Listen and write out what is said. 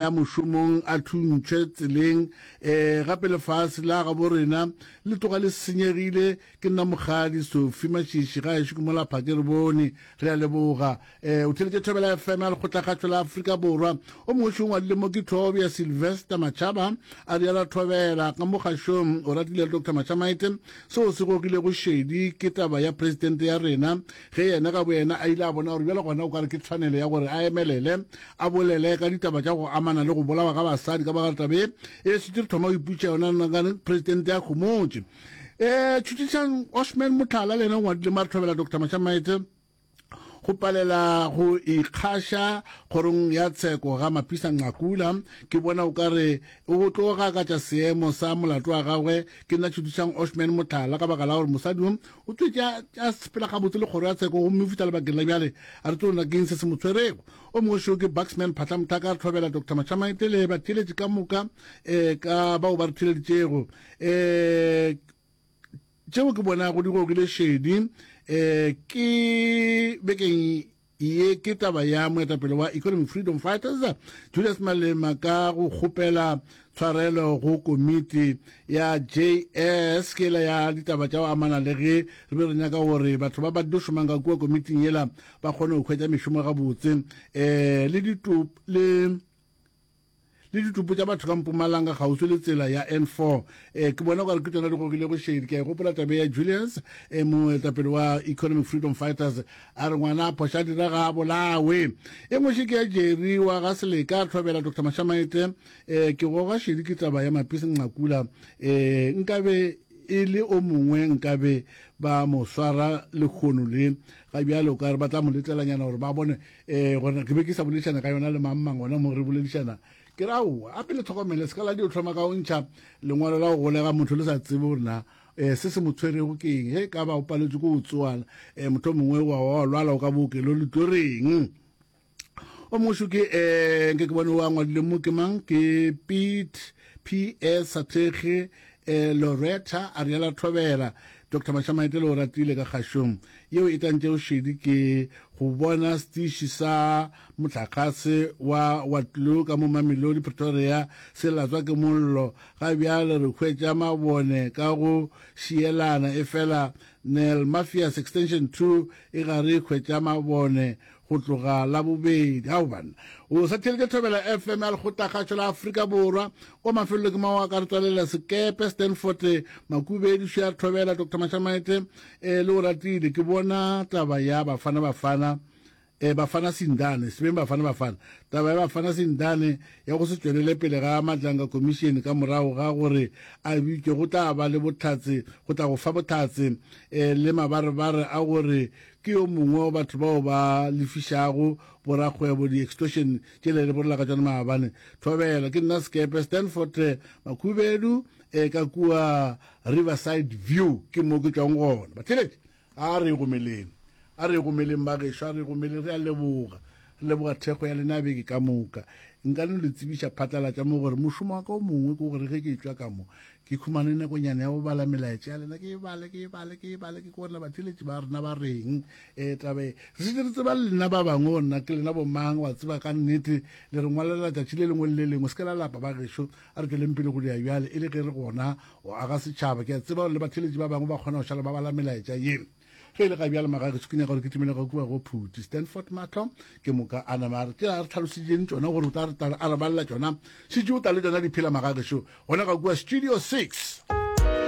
Ya mošomong a thuntšhwe tseleng. E, gape lefase la gabo rena le tloga le senyegile. Ke nna Mokgadi Sophie Mashishi, gaešo ke mola Phake re bone. Re a leboga. E, o theletše Thobela FM ya Lekgotlakgašo la Afrika Borwa. O mongwe šo o ngwadile mo ke Thobja Sylvester Machaba, a rialo Thobela ka mo kgašong. O ratile le Doctor Mashamaite. Seo se gogilego šedi ke taba ya presidente ya rena, ge yena ka boyena a ile a bona gore bjale gona o ka re ke tshwanelo ya gore a emelele a bolele ka ditaba tša go amana le go bolawa ga basadi ka baka la taba ye e šetše re thoma go iputša yona nagane presidente ya homotše. Um tšhutišang Osman Motlhala le yena o ngwadile mo a re thobela Doctor Mashamaite go palela go ikgaša kgorong ya tsheko ga Mapisa Nqakula. Ke bona o ka re o tlo gakatša seemo sa molato wa gagwe. Ke nna Tšhutišang Osman Motlhala ka baka la gore mosadi yo o tswetše a sepela gabotse le kgoro ya tsheko gomme o fihla lebakeng la bjale a re tlo na keng se se mo tshwerego. O mongwe šo ke Buxman Phatla Mothaka, re thobela Doctor Mashamaite le batheeletši ka moka um ka bao ba re theeleditšego. Um tšeo ke bonago di gogile šedi um ke bekeng ye ke taba ya moetapele wa Economic Freedom Fighters Julius Malema ka go kgopela tshwarelo go komiti ya JS ke ela ya ditaba tša go amana le ge re be re nyaka gore batho ba ba tlo šomang ka kua komiting yela ba kgone go hwetša mešomo gabotse um le ditopo le le ditopo tša batho ka Mpumalanga kgauswi le tsela ya N4. Eh, ke bona gore ke tšona di gogilego šedi. Ke a e gopola tabe ya Julius, eh, moetapele wa Economic Freedom Fighters, a re ngwana a phoša dira ga a bolawe. E nngwe še ke ya Jerry wa ga Seleka, a tlhobela Dr. Mashamaite. Eh, ke goga šedi ke taba ya Mapisi Nqakula. Eh, nkabe e le o mongwe nkabe ba mo swara lehono le ga bjale o ka re ba tla mo letlelanyana gore ba bone um gore ke be ke sa boledišana ka yona le mang mang gona mo re boledišana ke re aowa a pele tlhokomele se ka la dio tlhoma ka o ntšha lengwalo la go golega motho le sa tsebe gore na um se se mo tshwerego ke eng ge ka ba o paletswe ke go tsoala um motho mongwe wa wa lwala o ka bookelo le tlo reng o mongwe ke um nke ke bone o a ngwadile mo ke mang ke pete p s sathekge um loretta a riala thobela dr mashamaetele o ratile ka kgašong yeo e tantšego šedi ke go bona setiši sa mohlakgase wa waterloo ka mo mamelodi pretoria se latswa ke mollo ga bjale re hwetša mabone ka go šielana efela nel mafias extension 2 e ga re hwetša mabone go tloga Labobedi. Ao banna, o sa theeletša Thobela FM ya Lekgotlakgašo la Afrika Borwa. Kwa mafelelo ke mao a ka re tswalela sekepe Stanford Makubedi Share Thobela Dr Mashamaite eh, le o ratile ke bona taba ya Bafana Bafana eh, Bafana Sindane sebeng Bafana Bafana taba ya Bafana Sindane ya go se tšwelele pele ga Madlanga Commission ka morago ga gore a bitšwe go tla ba le bohlatse go tla go fa bohlatse eh, le mabarebare a gore Ke yo mongwe wa batho bao ba lefišago borakgwebo di-extortion tšele re bolela ka tšona maabane. Thobela, ke nna Sekepe, Stanford Makhubedu, e ka kua Riverside View ke mo ke tšwang gona. Batheeletši, a re gomeleng, a re gomeleng bagešo, a re gomeleng, re a leboga. Re leboga thekgo ya lena beke ka moka. Nka no le tsebiša phatlalatša mo gore mošomo wa ka o mongwe ke gore ge ke tšwa ka mo ke khumane nakonyana ya go bala melaetša ya lena, ke e bale, ke e bale, ke e bale, ke kone batheeletši ba rena ba reng. E taba e re šetše re tseba le lena ba bangwe gore na ke lena bomang, wa tseba ka nnete le re ngwalela tšatši le lengwe le le lengwe. Se ke la lapa ba gešo, a re tšweleng pele go dira bjale e le ge re gona go aga setšhaba. Ke a tseba gore le batheeletši ba bangwe ba kgona go šala ba bala melaetša ye. Ge e le ga bjale magageso ke nyaka gore ke timele ga kua go Phuti Stanford Mahlo ke moka a nama a re tšela a re tlhaloseditseng tšona gore o tla re a re balela tšona šetše o tla le tšona di phela magageso gona ga kua studio 6.